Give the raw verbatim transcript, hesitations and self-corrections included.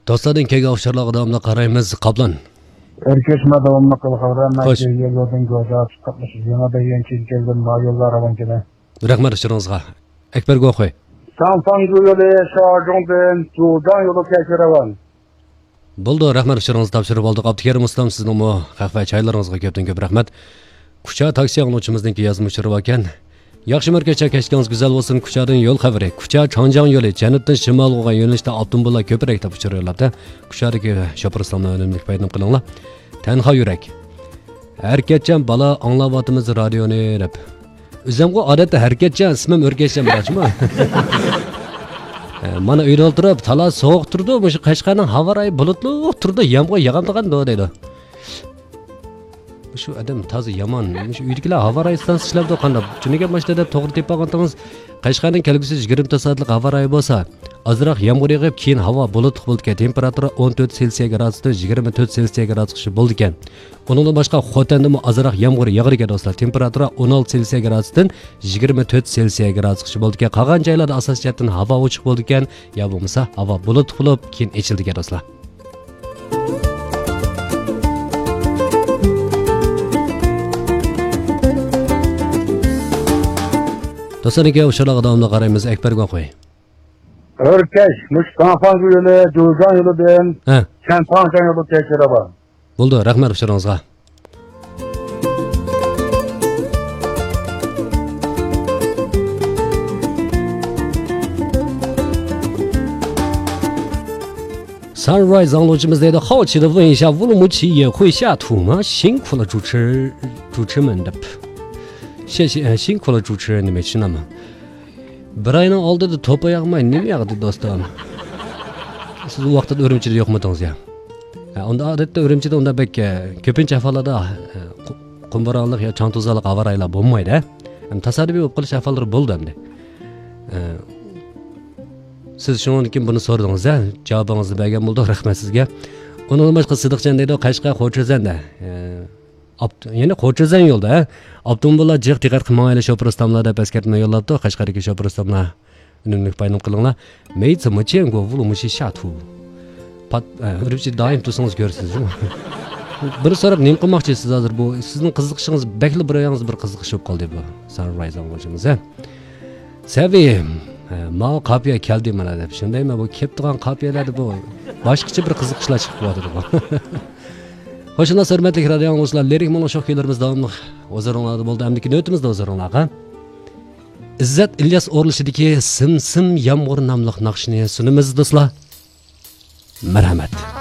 دوستلاردىن كەلگەن ئۇچۇرلارغا داۋاملىق قارايمىز. قاپلان. ئەركەشمە داۋاملىق قىلغانلار، مەن خوش. كەلگەن يولدىن گۆجا چىقىپ، يېڭى دېگەن چىز كەلگەن ما يوللار راۋان كېلە. رەھمەت ئۇچۇرىڭىزغا. ئەكبەر گوخۇي. ساڭساڭگۈ يولى، شاجۇڭدىن جۇجاڭ يولى كەچۈرەۋەن. بولدى، رەھمەت ئۇچۇرىڭىزنى تاپشۇرۇپ ئالدۇق. ئابدۇكېرىم ئۇستام، سىزنىڭمۇ خەق ۋە چايلىرىڭىزغا كۆپتىن كۆپ رەھمەت. كۇچا تاكسى ئاڭلىغۇچىمىزنىڭكى يازما ئۇچۇرى باركەن. ياخشى مەركەز، كەچلىكىڭىز گۈزەل بولسۇن. كۇچادىن يول خەۋىرى. كۇچا چاڭجياڭ يولى، جەنۇبتىن شىمالغا بولغان يۆنىلىشتە ئاپتوموبىللار كۆپرەك دەپ ئۇچۇر يوللاپتۇ. كۇچادىكى شوپۇر ئۇستاملار ئۈنۈملۈك پايدىلىنىپ قېلىڭلار. تەنھا يۈرەك. ھەرىكەتچان بالا، ئاڭلاۋاتىمىز رادىيونى دەپ. ئۆزۈمغۇ ئادەتتە ھەرىكەتچان، ئىسمىم ئۆركەشچان بىراچمۇ. ئە، مانا ئۆيدە ئولتۇرۇپ، تالا سوغۇق تۇرىدۇ، مۇشۇ قەشقەرنىڭ ھاۋا رايى بۇلۇتلۇق تۇرىدۇ، يامغۇر ياغامدىغاندۇ دەيدۇ. شۇ ئادەم تازا يامان. شۇ ئۆيدىكىلەر ھاۋا رايى ئىستانسىسى ئىشلەپتۇ قانداق؟ چۈنكى ماشىنىدا توغرا تېپىپ ئالغانتىڭىز، قەشقەرنىڭ كەلگۈسى يىگىرمە تۆت سائەتلىك ھاۋا رايى بولسا، ئازراق يامغۇر يېغىپ، كېيىن ھاۋا بۇلۇتلۇق بولىدىكەن. تېمپېراتۇرا ئون تۆت سېلسىيە گرادۇستىن يىگىرمە تۆت سېلسىيە گرادۇسقىچە بولىدىكەن. ئۇنىڭدىن باشقا خوتەندىمۇ ئازراق يامغۇر ياغىدىكەن دوستلار. تېمپېراتۇرا ئون ئالتە سېلسىيە گرادۇستىن يىگىرمە تۆت سېلسىيە گرادۇسقىچە بولىدىكەن. قالغان جايلاردا ئاساسىي جەھەتتىن ھاۋا ئوچۇق بولىدىكەن، يا بولمىسا ھاۋا بۇلۇتلۇق بولۇپ، كېيىن ئېچىلىدىكەن دوستلار. دوستلار، ئۇچۇرلارغا داۋاملىق قارايمىز. ئەكبەر گوخۇي. ئۆركەش، مۇشۇ ساڭساڭگۈ يولى، جۇجاڭ يولىدىن ھە. چەنتاڭجاڭ يولى كەچۈرەۋەن. بولدى، رەھمەت ئۇچۇرىڭىزغا. سانرايز ئاڭلىغۇچىمىز دەيدۇ، 好奇的问一下，乌鲁木齐也会下土吗？辛苦了主持，主持们 دەپ. شې-، شې-، 辛苦了主持人 دېمەكچى، شۇنداقمۇ؟ بىر ئاينىڭ ئالدىدا توپا ياغماي نېمە ياغدى دوستۇم؟ سىز ئۇ ۋاقىتتا ئۈرۈمچىدە يوقمىدىڭىز يا؟ ھە، ئۇندا ئادەتتە ئۈرۈمچىدە ئۇنداق بەك، ئە، كۆپىنچە ئەھۋاللاردا، ئە، قۇ-، قۇم بورانلىق يا چاڭ توزانلىق ھاۋا رايلار بولمايدۇ، ھە؟ ھەم تاسادىپىي بولۇپ قېلىش ئەھۋاللىرى بولىدۇ ئەمدى. ئە، سىز شۇنىڭدىن كېيىن بۇنى سورىدىڭىز، ھە؟ جاۋابىڭىزنى بەرگەن بولدۇق، رەھمەت سىزگە. ئۇنىڭدىن باشقا سىدىقجان دەيدۇ، قەشقەر خوچۈزەندە. ئە، ئاپت-، يەنى خوچۈزەن يولدا، ھە؟ ئاپتوموبىللار جىق دىققەت قىلىپ ماڭايلى، شوپۇر ئۇستاملار دەپ ئەسكەرتمە يوللاپتۇ. قەشقەردىكى شوپۇر ئۇستاملار، ئۈنۈملۈك پايدىلىنىپ قېلىڭلار. 没怎么见过乌鲁木齐下土. پات-، ئە، ئۈرۈمچىدە دائىم تۇرسىڭىز كۆرىسىز، جۇمۇ. بىر سوراپ نېمە قىلماقچى سىز ھازىر؟ بۇ سىزنىڭ قىزىقىشىڭىز بەكلا بىر ياڭزا بىر قىزىقىش بولۇپ قالدى بۇ. سانرايز ئاڭلىغۇچىمىز، ھە؟ سەۋىيەم، ھە، ماۋۇ قاپىيە كەلدى مانا دەپ. شۇندايمۇ بۇ كېلىپ تۇرغان قاپىيەلەردە بۇ باشقىچە بىر قىزىقىشلار چىقىپ قېلىۋاتىدۇ بۇ. خوش ئامراق ھۆرمەتلىك رادىيو ئاڭلىغۇچىلار، لىرىك مۇڭلۇق شوخ كۈيلىرىمىز داۋاملىق ھۇزۇرۇڭلاردا بولدى. ئەمدىكى نۆۋىتىمىزدە ھۇزۇرۇڭلارغا ئىززەت ئىلياس ئورۇنلىشىدىكى سىم سىم يامغۇر ناملىق ناخشىنى سۇنىمىز دوستلار. مەرھەمەت.